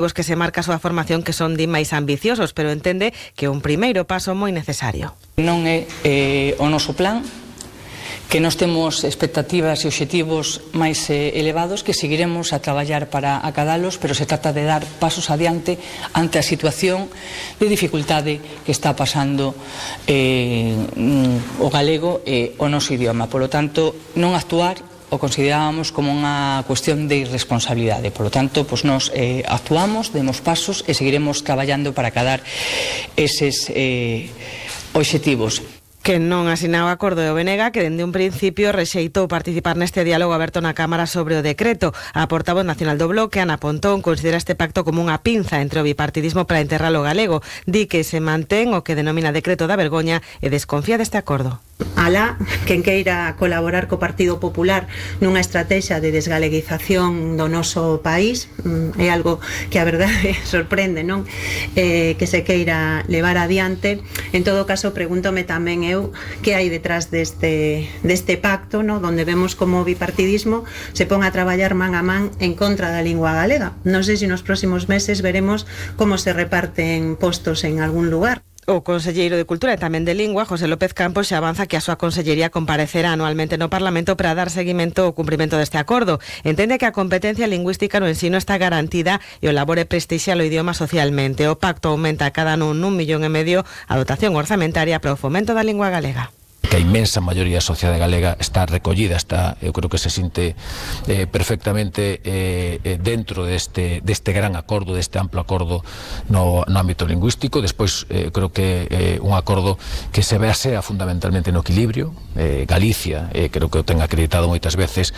os que se marca a súa formación que son máis ambiciosos, pero entende que un primeiro paso moi necesario. Non é o noso plan, que nós temos expectativas e obxectivos máis elevados que seguiremos a traballar para acadalos, pero se trata de dar pasos adiante ante a situación de dificultade que está pasando o galego e o noso idioma. Por lo tanto, non actuar o considerábamos como unha cuestión de irresponsabilidade. Por lo tanto, pues nos actuamos, demos pasos e seguiremos traballando para acadar eses obxectivos. Que non asinaba o acordo de Obenega, que dende un principio rexeitou participar neste diálogo aberto na Cámara sobre o decreto. A portavoz nacional do Bloque, Ana Pontón, considera este pacto como unha pinza entre o bipartidismo para enterrar o galego. Di que se mantén o que denomina decreto da vergoña e desconfía deste acordo. Alá, quen queira colaborar co Partido Popular nunha estrategia de desgaleguización do noso país, é algo que a verdade sorprende, non? Que se queira levar adiante. En todo caso, pregúntome tamén eu que hai detrás deste pacto, no? Donde vemos como o bipartidismo se pon a traballar man a man en contra da lingua galega. Non sei se nos próximos meses veremos como se reparten postos en algún lugar. O conselleiro de Cultura e tamén de Lingua, José López Campos, xa avanza que a súa consellería comparecerá anualmente no Parlamento para dar seguimento ao cumprimento deste acordo. Entende que a competencia lingüística no ensino está garantida e o labor é prestixiar o idioma socialmente. O pacto aumenta cada ano 1,5 millón a dotación orzamentaria para o fomento da lingua galega. Que a inmensa maioría da sociedade galega está recollida, eu creo que se sinte perfectamente dentro deste gran acordo, deste amplo acordo no ámbito lingüístico. Despois creo que un acordo que se basea fundamentalmente no equilibrio. Galicia, creo que o ten acreditado moitas veces,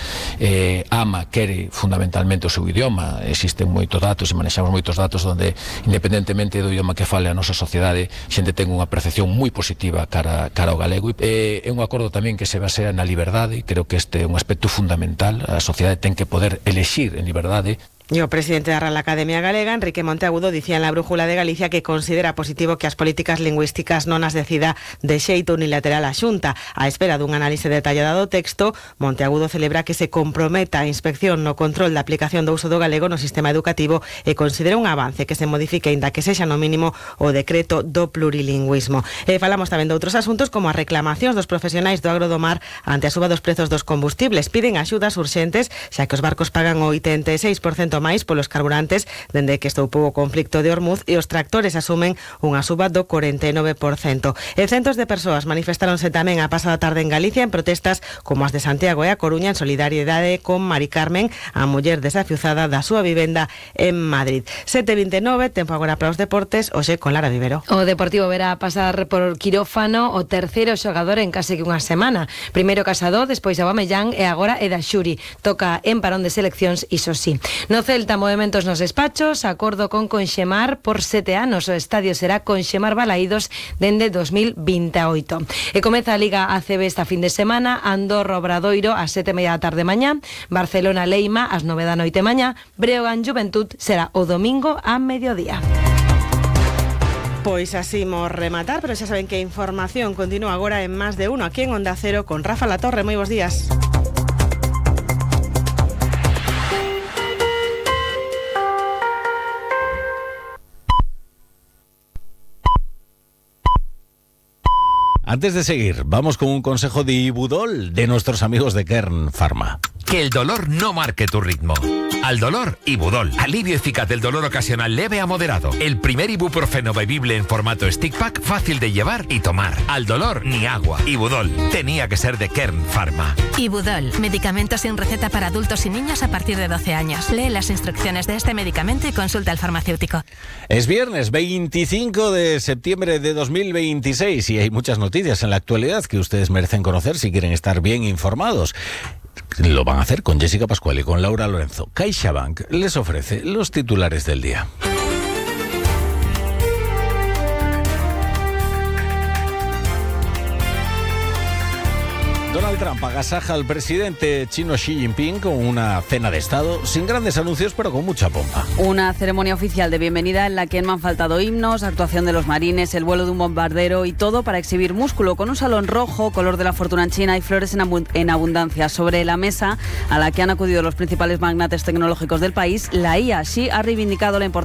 ama, quere fundamentalmente o seu idioma. Existen moitos datos e manexamos moitos datos onde, independentemente do idioma que fale a nosa sociedade, xente ten unha percepción moi positiva cara ao galego. É un acordo tamén que se basea na liberdade. Creo que este é un aspecto fundamental. A sociedade ten que poder elexir en liberdade. E o presidente da Real Academia Galega, Enrique Monteagudo, dicía en la Brújula de Galicia que considera positivo que as políticas lingüísticas non as decida de xeito unilateral a Xunta. A espera dun análise detallado do texto, Monteagudo celebra que se comprometa a inspección no control da aplicación do uso do galego no sistema educativo e considera un avance que se modifique, aínda que sexa no mínimo, o decreto do plurilingüismo. Falamos tamén de outros asuntos como as reclamacións dos profesionais do agro do mar ante a suba dos prezos dos combustibles. Piden axudas urxentes, xa que os barcos pagan o 86% máis polos carburantes dende que estoupou o conflicto de Hormuz e os tractores asumen unha suba do 49%. E centos de persoas manifestaronse tamén a pasada tarde en Galicia en protestas como as de Santiago e a Coruña en solidariedade con Mari Carmen, a muller desafiuzada da súa vivenda en Madrid. 7:29, tempo agora para os deportes, hoxe con Lara Vivero. O Deportivo verá pasar por quirófano o terceiro xogador en case que unha semana. Primeiro Casado, despois Aubameyang e agora Eda Xuri. Toca en parón de seleccións, iso sí. No Celta, movementos nos despachos, acordo con Conxemar por 7 anos. O estadio será Conxemar Balaídos dende 2028. E comeza a Liga ACB esta fin de semana. Andorra Obradoiro ás 7:30 da tarde mañá, Barcelona Leima ás 9 da noite mañá, Breogán Juventud será o domingo a mediodía. Pois así imos rematar, pero xa saben que a información continúa agora en Más de Uno, aquí en Onda Cero con Rafa Latorre. Moi bons días. Antes de seguir, vamos con un consejo de Ibudol de nuestros amigos de Kern Pharma. Que el dolor no marque tu ritmo. Al dolor, Ibudol. Alivio eficaz del dolor ocasional leve a moderado. El primer ibuprofeno bebible en formato stick pack, fácil de llevar y tomar. Al dolor, ni agua. Ibudol. Tenía que ser de Kern Pharma. Ibudol. Medicamento sin receta para adultos y niños a partir de 12 años. Lee las instrucciones de este medicamento y consulta al farmacéutico. Es viernes 25 de septiembre de 2026 y hay muchas noticias en la actualidad que ustedes merecen conocer si quieren estar bien informados. Lo van a hacer con Jessica Pascual y con Laura Lorenzo. CaixaBank les ofrece los titulares del día. Donald Trump agasaja al presidente chino Xi Jinping con una cena de Estado sin grandes anuncios, pero con mucha pompa. Una ceremonia oficial de bienvenida en la que no han faltado himnos, actuación de los marines, el vuelo de un bombardero y todo para exhibir músculo, con un salón rojo, color de la fortuna en China, y flores en abundancia. Sobre la mesa a la que han acudido los principales magnates tecnológicos del país, la IA. Xi ha reivindicado la importancia